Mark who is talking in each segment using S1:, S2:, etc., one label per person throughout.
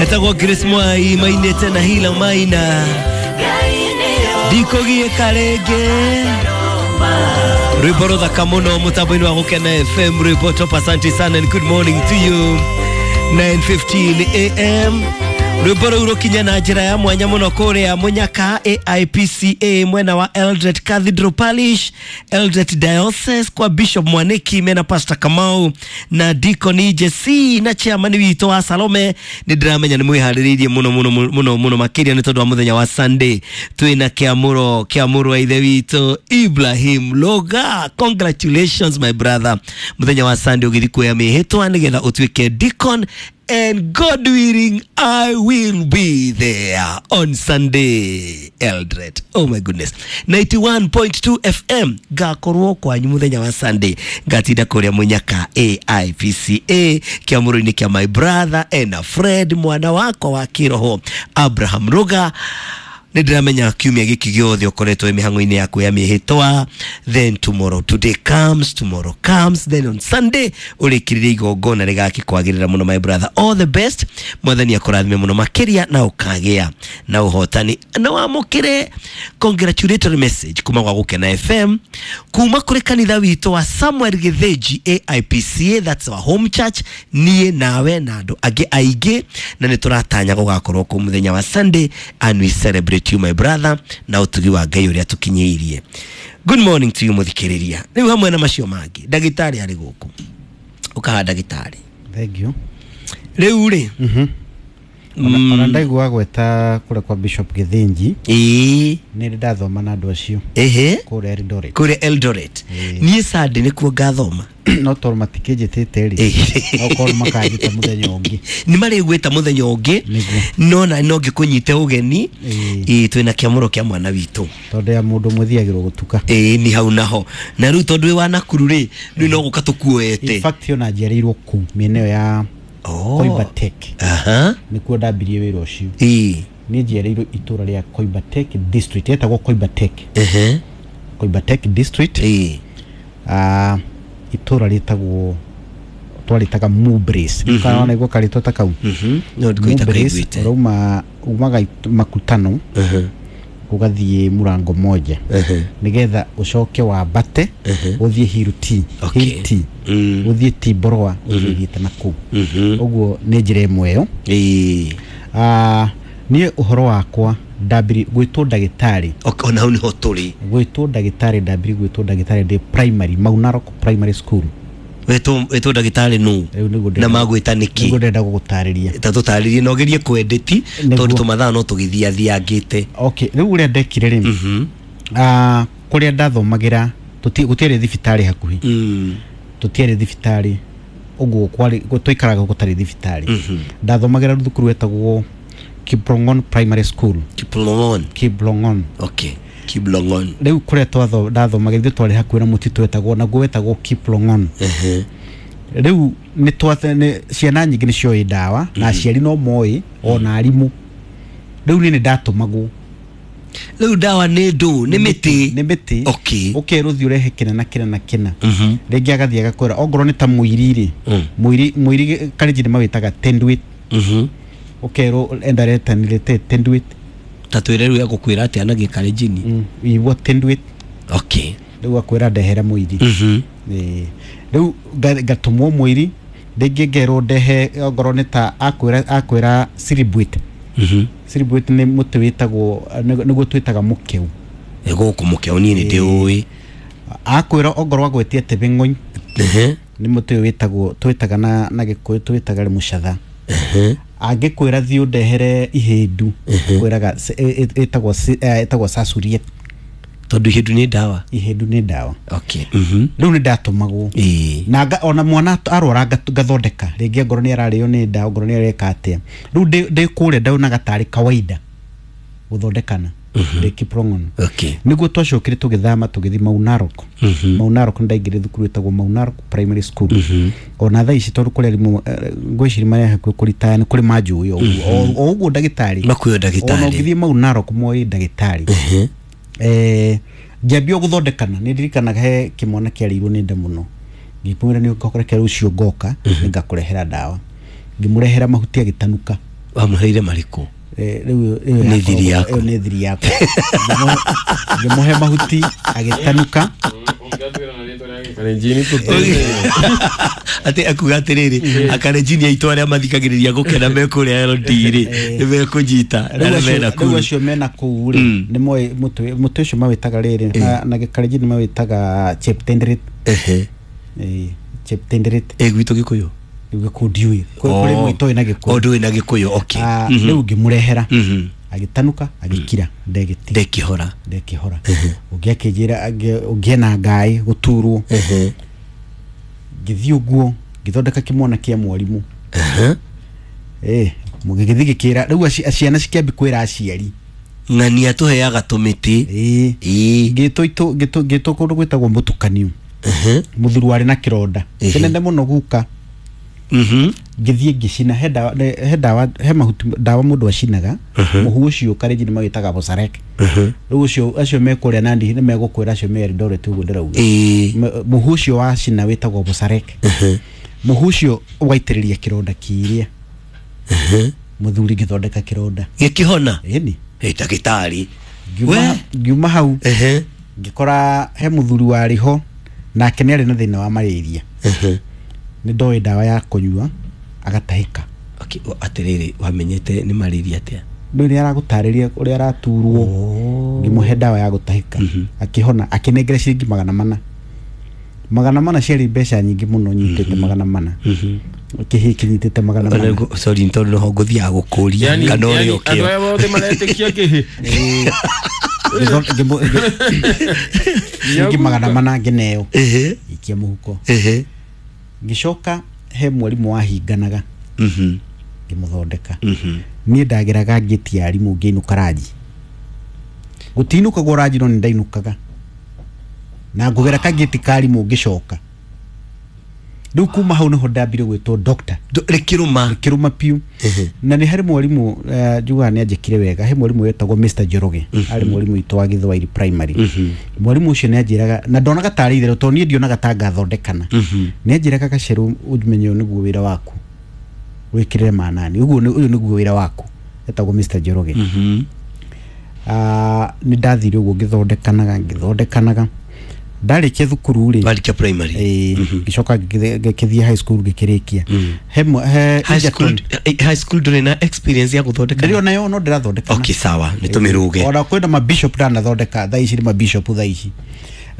S1: Etagwo Grace Mwai mainĩte na Hila Maina ndikũgiĩka rĩngĩ. Rwĩmbo rũthaka mũno mũtambo-inĩ wa Gũkena FM, rwĩmbo top. Asante sana and good morning to you. 9:15 am, rwĩmbo rũu rũkinya na njĩra ya mwanya mũno kũrĩa Mũnyaka AIPCA, mwena wa Eldoret Cathedral Parish, Eldoret Diocese, kwa Bishop Mwaniki mena Pastor Kamau na Deacon JC na chairman witũ wa Salome. Nĩ ndĩramenya nĩ mwĩharĩrĩirie mũno mũno mũno mũno makĩria nĩ tondũ wa mũthenya wa Sunday twĩna kĩamũro kĩa mũrũ wa ithe witũ Ibrahim Loga. Congratulations, my brother. Mũthenya wa Sunday ũgĩthiĩ kuoya mĩhĩtwa nĩgetha ũtuĩke deacon, and God willing, I will be there on Sunday, Eldoret. Oh my goodness. 91.2 FM ngakorwo kwanyu muthenya wa Sunday, ngatinda kuria Munyaka AIPCA kiamuro-inĩ kia my brother and a friend, mwana wakwa wa kiroho Abraham Ruga. Nĩ ndĩramenya kiumia gĩkĩ gĩothe ũkoretwo wĩ mĩhang'o-inĩ yaku ya mĩhĩtwa, then tomorrow, today comes, tomorrow comes, then on Sunday ũrĩkĩrĩrie igongona rĩgakĩkwagĩrĩra mũno. My brother, all the best. Mwathani akũrathime mũno makĩria na ũkagĩa na ũhotani na wamũkĩre congratulatory message kuma gwa Gũkena FM, kuma kũrĩ kanitha witũ wa Samuel Gĩthĩnji AIPCA. That's our home church, niĩ nawe na andũ angĩ aingĩ, na nĩ tũratanya gũgakorwo kũu mũthenya wa Sunday, and we celebrate you, my brother, na ũtugi wa Ngai ũrĩa tũkinyĩirie. Good morning to you, mũthikĩrĩria. Rĩu hamwe na macio mangĩ, ndagĩtarĩ arĩ gũkũ, ũkaha ndagĩtarĩ.
S2: Thank you.
S1: Rĩu rĩ,
S2: Ona ndaigua gweta kũrĩa kwa Bishop Gĩthĩnji, nĩ ndĩ ndathoma na andũ acio kũrĩa Eldoret.
S1: Kũrĩa Eldoret. Niĩ Sunday nĩkuo ngathoma.
S2: No tondũ matikĩnjĩtĩte rĩ, okorwo makanjĩta mũthenya ũngĩ.
S1: Nĩ marĩgwĩta mũthenya ũngĩ.
S2: Nĩguo.
S1: No na no ngĩkũnyite ũgeni. Ĩĩ, twĩna kĩamũro kĩa mwana witũ.
S2: Tondũ ya mũndũ ũmwe thiagĩrwo gũtuka.
S1: Ĩĩ, nĩ hau naho na rĩu tondũ wĩ wa Nakuru rĩ, rĩu no gũka tũkuoete.
S2: In fact, ona njiarĩirwo kũu mĩena ĩyo ya Koibatek. Nĩkuo ndambirie wĩra ũcio. Niĩ njiarĩirwo itũra rĩa Koibatek District, yetagwo Koibatek, Koibatek District. Itũra rĩtagwo, twarĩtaga Mubris. Kana nĩguo karĩtwa ta kau.
S1: No ndikũita
S2: Mubris,
S1: kaiguĩte.
S2: ũrauma umaga Makutano, ũgathiĩ Mũrango Moja, nĩgetha ũcoke wambate ũthiĩ Hill T. Hill T, ũthiĩ Timboroa, ũthiĩ thiĩte na kũu. Ũguo nĩ njĩra ĩmwe ĩyo. Niĩ ũhoro wakwa ndambiri gwĩtwo ndagĩtarĩ.
S1: Ona hau nĩho tũrĩ.
S2: Gwĩtwo ndagĩtarĩ, ndambiri gwĩtwo ndagĩtarĩ ndĩ primary, Mau Narok Primary School.
S1: Wetwo ndagĩtarĩ nũ?
S2: Rĩu nĩguo
S1: Na magwĩta nĩkĩ?
S2: Nĩguo ndĩrenda gũgũtarĩria.
S1: Ta tũtarĩrie na ũgerie kwendeti.
S2: Nĩguo.
S1: Tondũ tũmathaa no tũgĩthiathiangĩte.
S2: Okay, rĩu ũrĩa ndekire rĩ, kũrĩa ndathomagĩra gũtiarĩ thibitarĩ hakuhĩ. Tũtiarĩ thibitarĩ, ũguo kwarĩ twaikaraga gũtarĩ thibitarĩ. Ndathomagĩra thukuru wetagwo Kiblongon Primary School.
S1: Kiplongon?
S2: Kiblongon.
S1: Okay, Kiblongon.
S2: Rĩu kũrĩa ndathomagĩra, ithuĩ twarĩ hakuhĩ na mũtitũ wetagwo, naguo wetagwo Kiplongon. Rĩu nĩ ciana nyingĩ nĩ cioĩ ndawa na aciari no moĩ ona arimũ. Rĩu niĩ nĩ ndatũmagwo.
S1: Rĩu ndawa nĩ ndũ? Nĩ mĩtĩ?
S2: Nĩ mĩtĩ. Ũkerwo thiĩ ũrehe kĩna na kĩna na kĩna. Rĩngĩ agathiĩ agakwĩra ongorwo nĩ ta mũiri rĩ, mũiri, mũiri karenji nĩ mawĩtaga tendwit. Ũkerwo enda reta nilete tendwit.
S1: Ta twĩre rĩu egũkwĩra atĩa na gĩkarenjini?
S2: Igua tendwit. Rĩu akwĩra ndehera mũiri. Ĩĩ. Rĩu ngatũmwo mũiri, rĩngĩ ngerwo ndehe ongorwo nĩ ta akwĩra siribwit. Siribwit nĩ mũtĩ wĩtagwo, nĩguo twĩtaga mũkeu.
S1: Ĩ, gũkũ mũkeo niĩ nĩ ndĩũĩ.
S2: Akwĩra ongorwo agwetie tebeng'ony, nĩ mũtĩ ũyũ wĩtagwo, twĩtaga na gĩkũyũ twĩtaga mũcatha. Angĩkwĩra thiĩ ũndehere ihĩndu, kwĩraga ĩtagwo sasurie.
S1: Tondũ ihĩndu nĩ ndawa.
S2: Ihĩndu nĩ ndawa. Rĩu nĩ ndatũmagwo na ona mwana arwara ngathondeka, rĩngĩ angorwo nĩ ararĩo nĩ nda, ongorwo nĩ areka atĩa. Rĩu ndĩ kũrĩa ndaunaga tarĩ kawaida gũthondekana ndĩ Kiprong'on. Nĩguo twacokire tũgĩthama tũgĩthiĩ Mau Narok. Mau Narok nĩ ndaingĩrire thukuru ĩtagwo Mau Narok Primary School. Ona thaa ici tondũ kũrĩ arimũ, ngwĩciria marĩa hakuhĩ kũritaya nĩ kũrĩ manjũĩ o ũguo. O ũguo ndagĩtarĩ.
S1: Makuoyo
S2: Ona
S1: ndagĩtarĩ.
S2: ũngĩthiĩ Mau Narok moĩ ndagĩtarĩ. Ngĩambia gũthondekana, nĩ ndirikanaga he kĩmwana kĩarĩirwo nĩ nda mũno, ngĩmwĩra nĩ ũngĩkoreka rũciũ ngoka nĩ ngakũrehera ndawa. Ngĩmũrehera mahuti agĩtanuka.
S1: Wamũheire marĩkũ?
S2: Rĩu
S1: Nĩ thiri yaku.
S2: Nĩ thiri yakwa. Ngĩmũhe mahuti agĩtanuka.
S1: Atĩ akuga atĩrĩrĩ, akarenjini aitũ arĩa mathikagĩrĩria gũkena me kũrĩa LD rĩ, nĩ mekũnyita na
S2: Rĩu
S1: nĩ mena
S2: acio
S1: kuru.
S2: mena kũu rĩ, nĩ moĩ mũtĩ ũcio mawĩtaga rĩrĩ, na gĩkarenjini mawĩtaga cheptenderet. Cheptenderet.
S1: Gwitũ Gĩkũyũ?
S2: Gĩkũyũ ndiũĩ. Kũrĩ mũitũ na Gĩkũyũ.
S1: Ndũĩ na Gĩkũyũ, okay.
S2: Rĩu ngĩmũrehera. Agĩtanuka, agĩkira,
S1: ndekĩhora.
S2: Ndekĩhora. Ũngĩ akĩnjĩra ũngĩ ena ngaĩ gũturwo. Ngĩthiĩ ũguo ngĩthondeka kĩmwana kĩa mwarimũ. Gĩgĩthiĩ gĩkĩra rĩu ciana cikĩambia kwĩra aciari.
S1: Ng'ania tũheaga tũmĩtĩ.
S2: Ngĩtwo kũndũ gwĩtagwo mũtukanio. Mũthuri warĩ na kĩronda kĩnene mũno guka. Ngĩthiĩ ngĩcina he dawa he mahuti dawa mũndũ acinaga. Mũhu ũcio karenji nĩ mawĩtaga bosarek. Rĩu ũcio acio me kũrĩa Nandi nĩ megũkwĩra acio me Eldoret ũguo ndĩrauga. Mũhu ũcio wacina wĩtagwo bosarek. Mũhu ũcio ũgaitĩrĩria kĩronda kĩrĩa. Mũthuri ngĩthondeka kĩronda.
S1: Gĩkĩhona?
S2: Ĩni.
S1: Ndagĩtarĩ.
S2: Ngiuma hau ngĩkora he mũthuri warĩ ho nake nĩ arĩ na thĩna wa malaria. Nĩ ndoĩ ndawa ya kũnyua agatahĩka.
S1: Okay, atĩrĩrĩ, wamenyete nĩ malaria atĩa?
S2: Rĩu nĩ aragũtarĩria ũrĩa araturwo. Ngĩmũhe ndawa ya gũtahĩka. Akĩhona, akĩnengera ciringi 400. 400 ciarĩ mbeca nyingĩ mũno, nyitĩte 400. Kĩhĩ kĩnyitĩte 400.
S1: Sorry, tondũ noho ngũthiaga gũkũria kana ũrĩa ũkĩo.
S3: Andũ aya othe maretĩkia kĩhĩ.
S2: Ciringi 400 ngĩneo. Ikia mũhuko. Ngĩcoka he mwarimũ wahinganaga. Ngĩmũthondeka. Niĩ ndageraga ngĩti ya arimũ ngĩinũka ranji. Gũtiinũkagwo ranji no nĩ ndainũkaga. Na ngũgera kangĩti ka arimũ ngĩcoka. Rĩu kuma hau nĩho ndambire gwĩtwo doctor.
S1: Rĩkĩrũma.
S2: Rĩkĩrũma piũ. Na nĩ harĩ mwarimũ njugaga nĩ anjĩkire wega. He mwarimũ wetagwo Mr. Njoroge. Arĩ mwarimũ witũ wa Gĩthwaĩri primary. Mwarimũ ũcio nĩ anjĩraga, na ndonaga tarĩ itherũ tondũ niĩ ndionaga ta ngathondekana. Nĩ anjĩraga Gacerũ ũmenye ũyũ nĩguo wĩra waku. Wĩkĩrĩre manani. Ũguo ũyũ nĩguo wĩra waku. Etagwo Mr. Njoroge. Nĩ ndathire ũguo ngĩthondekanaga. Ndarĩkia thukuru rĩ.
S1: Warĩkia primary.
S2: Ngĩcoka ngĩthiĩ high school ngĩkĩrĩkia.
S1: High school ndũrĩ na experience ya gũthondeka?
S2: Ndĩrĩ onayo no ndĩrathondeka.
S1: Okay, sawa, nĩ tũmĩrũge.
S2: Ona kwĩna ma bishop ndanathondeka thaa ici nĩ ma bishop thaa ici.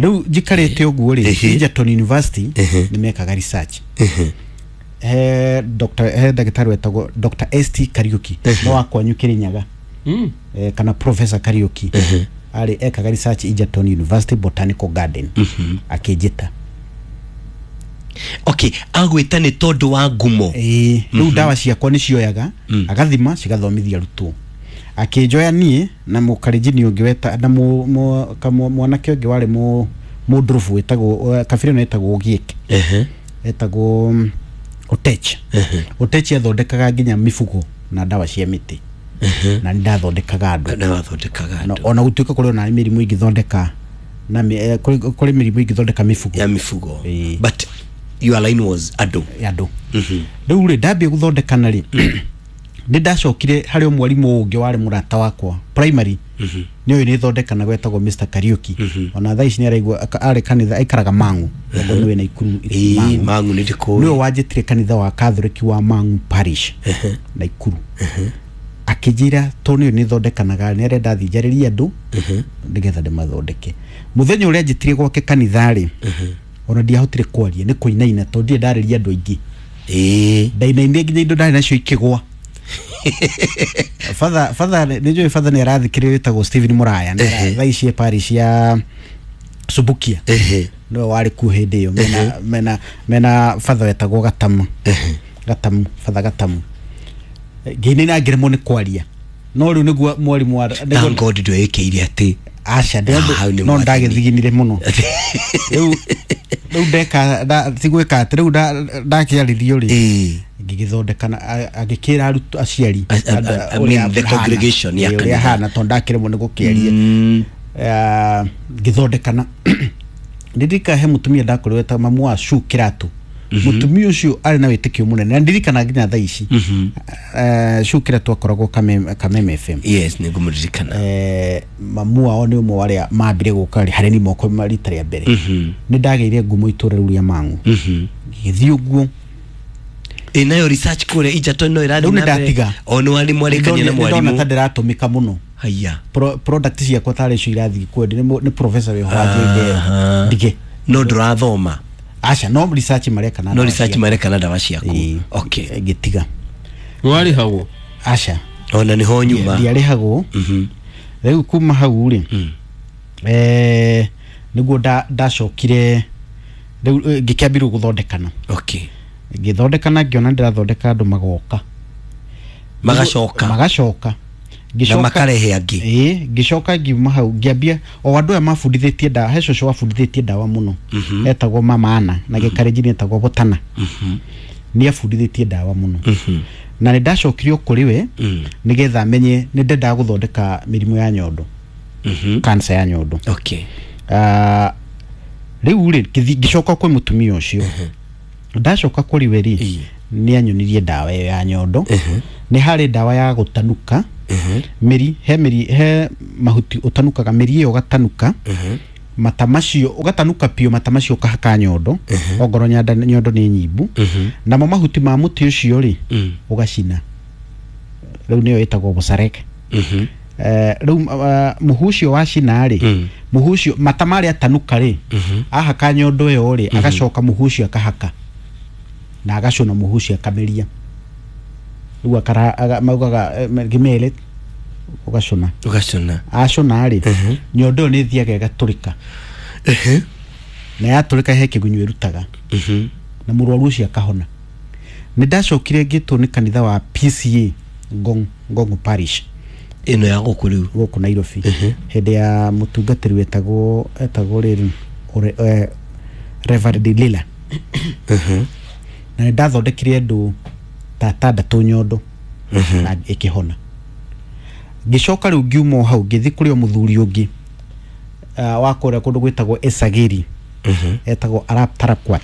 S2: Rĩu njikarĩte ũguo rĩ, Egerton University nĩ mekaga research. He ndagĩtarĩ wetagwo Dr. ST Kariuki, no wa kwanyu Kĩrĩnyaga. Kana Professor Kariuki. Arĩ ekaga research Egerton University Botanical Garden. Akĩnjĩta.
S1: Okay, agwĩta nĩ tondũ wa ngumo.
S2: Rĩu ndawa ciakwa nĩ cioyaga, agathima cigathomithia arutwo. Akĩnjoya niĩ na mũkarenjini ũngĩ weta na mwanake ũngĩ warĩ mũndũrũbu wĩtagwo kabira ĩno ĩtagwo Ogiek. Etagwo Otech. Otech athondekaga nginya mibugo na ndawa cia mĩtĩ. Na ndathondekaga andũ.
S1: Na wathondekaga andũ.
S2: Ona gũtuĩka kũrĩ ona mĩrimũ ĩngĩthondeka na kũrĩ mĩrimũ ĩngĩthondeka mibugo.
S1: Ya mibugo. But your line was andũ.
S2: Andũ. Rĩu rĩ ndambia gũthondekana rĩ, nĩ ndacokire harĩ mwarimũ ũngĩ warĩ mũrata wakwa primary. Nĩ ũyũ nĩ thondekana gwetagwo Mr. Kariuki. Ona thaa ici nĩ araigua arĩ kanitha aikaraga Mang'u. Ũguo nĩwe Naikuru.
S1: Mang'u nĩ ndĩkũĩ.
S2: Nĩwe wanjĩtire kanitha wa Catholic wa Mang'u Parish Naikuru. Akĩnjĩra tondũ nĩ ũyũ nĩ thondekanaga nĩ arenda thiĩ njarĩrie andũ nĩgetha ndĩmathondeke. Mũthenya ũrĩa anjĩtire gwake kanitha rĩ, ona ndiahotire kwaria nĩ kũinaina tondũ ndirĩ ndarĩria andũ aingĩ. Ndainainire nginya indo ndarĩ nacio ikĩgwa. Father nĩ njũĩ father nĩ arathikĩrĩria wĩtagwo Stephen Muraya. Thaa ici e parish ya Subukia. Nĩwe warĩ kuo hĩndĩ ĩyo mena father wetagwo Gatamu. Gatamu, father Gatamu. Ngĩinaina ngĩremwo nĩ kwaria. No rĩu nĩguo mwarimũ wa
S1: Thank God ndwĩkĩire atĩ.
S2: Aca, no ndagĩthiginire mũno. Rĩu ndeka tigwĩka atĩ rĩu ndakĩarĩrio rĩ, ngĩgĩthondekana agĩkĩra arutwo aciari
S1: the congregation ya
S2: ũrĩa hana tondũ ndakĩremwo nĩ gũkĩaria. Ngĩthondekana. Ndirika he mũtumia ndakorirwo wetagwo mamu wa Shu Kĩratũ. Mũtumia ũcio arĩ na wĩtĩkio mũnene na ndirikana nginya thaa ici. Cukĩra twakoragwo Kameme FM.
S1: Yes, nĩ ngũmũririkana.
S2: Mamu wao nĩ ũmwe wa arĩa mambire gũka harĩ ni moko rita rĩa mbere. Nĩ ndagĩire ngumo itũra rĩu rĩa Mang'u. Ngĩgĩthiĩ ũguo.
S1: Ĩ nayo research kũrĩa Egerton no ĩrathiĩ
S2: Rĩu nĩ
S1: na mbere?
S2: ndatiga.
S1: O nĩ warimu arĩkania na
S2: Nĩ ndona
S1: mwarimu.
S2: ta ndĩratũmĩka mũno.
S1: Haya.
S2: Product ciakwa tarĩ icio irathiĩ kwendia, nĩ professor wĩho wathiĩ ndige.
S1: No ndũrathoma?
S2: Aca, no research mareka na
S1: No
S2: ndawa
S1: research
S2: ciakwa.
S1: mareka na ndawa ciaku.
S2: Ĩĩ.
S1: Okay.
S2: Ngĩtiga.
S3: Warĩhagwo?
S2: Aca.
S1: Ona nĩho nyuma.
S2: Ndiarĩhagwo. Rĩu kuma hau rĩ, nĩguo ndacokire rĩu, ngĩkĩambirwo gũthondekana.
S1: Okay.
S2: Ngĩthondekana, ngĩona ndĩrathondeka andũ magoka.
S1: Magacoka.
S2: Magacoka.
S1: Na makarehe angĩ.
S2: Ĩĩ, ngĩcoka ngiuma hau ngĩambia o andũ aya mabundithĩtie ndawa. He cũcũ wabundithĩtie ndawa mũno, etagwo Mama Anna, na gĩkarenjini etagwo Botana. Nĩ abundithĩtie ndawa mũno na nĩ ndacokire o kũrĩ we nĩgetha menye nĩ ndendaga gũthondeka mĩrimũ ya nyondo, cancer ya nyondo.
S1: Okay.
S2: Rĩu rĩ, ngĩcoka kwĩ mũtumia ũcio. Ndacoka kũrĩ we rĩ, nĩ anyonirie ndawa ĩyo ya nyondo. Nĩ harĩ ndawa ya gũtanuka mĩri, he mĩri, he mahuti ũtanukaga mĩri ĩyo, ũgatanuka mata macio, ũgatanuka piũ mata macio, ũkahaka nyondo ongorwo nyondo nĩ nyimbu. Namo mahuti ma mũtĩ ũcio rĩ, ũgacina. Rĩu nĩyo ĩtagwo bũcareke. Rĩu mũhu ũcio wacina rĩ, mũhu ũcio mata marĩa atanuka rĩ, ahaka nyondo ĩyo rĩ, agacoka mũhu ũcio akahaka na agacũna mũhu ũcio akameria. Rĩu maugaga gĩmere ũgacũna.
S1: Ũgacũna.
S2: Acũna rĩ, nyondo ĩyo nĩ ĩthiaga ĩgatũrĩka, na yatũrĩka he kĩgunyũ ĩrutaga na mũrwaru ũcio akahona. Nĩ ndacokire ngĩtwo nĩ kanitha wa PCA Ngong, Ngong Parish.
S1: Ĩno ya gũkũ rĩu?
S2: Gũkũ Nairobi, hĩndĩ ya mũtungatĩri wetagwo rĩrĩ Reverend Lila. Na nĩ ndathondekire andũ ta atandatũ nyondo na ĩkĩhona. Ngĩcoka rĩu ngiuma o hau ngĩthiĩ kũrĩ o mũthuri ũngĩ wa kũrĩa kũndũ gwĩtagwo Esagiri, etagwo Arap Tarakwat.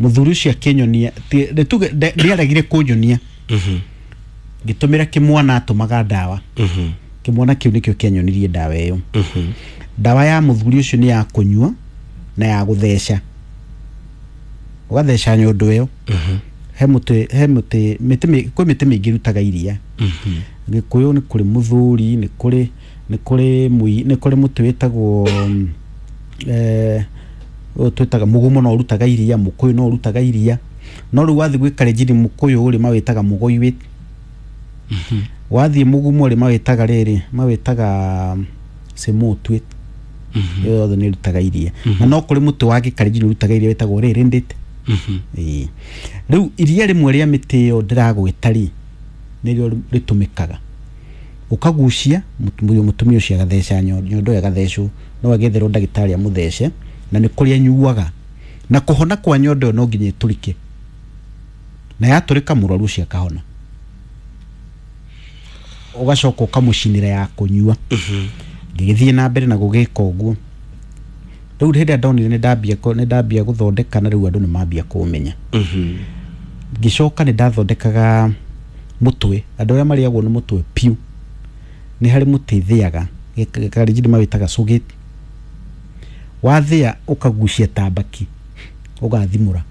S2: Mũthuri ũcio akĩnyonia, tuge nĩaregire kũnyonia. Ngĩtũmĩra kĩmwana atũmaga ndawa. Kĩmwana kĩu nĩkĩo kĩanyonirie ndawa ĩyo. Ndawa ya mũthuri ũcio nĩ ya kũnyua na ya gũtheca. Ũgatheca nyondo ĩyo. He mũtĩ, he mũtĩ, mĩtĩ kwĩ mĩtĩ mĩingĩ ĩrutaga iria. Gĩkũyũ nĩ kũrĩ mũthuri, nĩ kũrĩ mũtĩ wĩtagwo ũyũ twĩtaga mũgumo, no ũrutaga iria, mũkũyũ no ũrutaga iria. No rĩu wathiĩ gwĩ karenjini mũkũyũ rĩ, mawĩtaga mũgoi. Wathiĩ mũgumo rĩ, mawĩtaga rĩrĩ, mawĩtaga cĩmũtwĩ. Ĩyo yothe nĩ ĩrutaga iria. Na no kũrĩ mũtĩ wa gĩkarenjini ũrutaga iria wĩtagwo rĩrĩndĩte. Ĩĩ. Rĩu iria rĩmwe rĩa mĩtĩ ĩyo ndĩragwĩta rĩ, nĩrĩo rĩtũmĩkaga ũkagucia mũtumia ũcio agatheca nyondo ĩyo ĩgathecwo. No agĩetherwo ndagĩtarĩ amũthece, na nĩ kũrĩa anyuaga. Na kũhona kwa nyondo ĩyo no nginya ĩtũrĩke, na yatũrĩka mũrwaru ũcio akahona. Ũgacoka ũkamũcinĩra ya kũnyua. Ngĩgĩthiĩ na mbere na gũgĩka ũguo. Rĩu hĩndĩ ĩrĩa ndonire nĩ ndambia gũthondeka, na rĩu andũ nĩ mambia kũmenya, ngĩcoka nĩ ndathondekaga mũtwe. Andũ arĩa marĩagwo nĩ mũtwe piũ, nĩ harĩ mũtĩ thĩaga, karenjini mawĩtaga cũgĩti. Wathĩa ũkagucia ta mbaki, ũgathimũra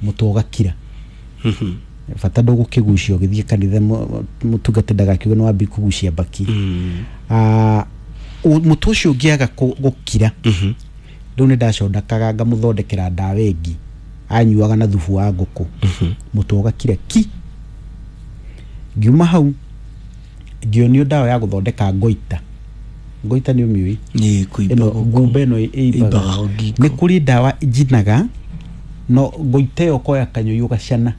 S2: mũtwe ũgakira. Bata ndũgũkĩgucia ũgĩthiĩ kanitha, mũtungati ndagakiuge nĩ wambia kũgucia mbaki. Mũtwe ũcio ũngĩaga gũkira, rĩu nĩ ndacondekaga ngamũthondekera ndawa ĩngĩ anyuaga na thubu wa ngũkũ, mũtwe ũgakira ki. Ngiuma hau ngĩonio ndawa ya gũthondeka ngoita. Ngoita nĩ ũmĩũĩ?
S1: Nĩ kũimba
S2: Ĩno
S1: gũkũ.
S2: ngumba ĩno ĩimbaga.
S1: Ĩimbaga ngingo.
S2: Nĩ kũrĩ ndawa njinaga no ngoita ĩyo, ũkoya kanyũi ũgacana.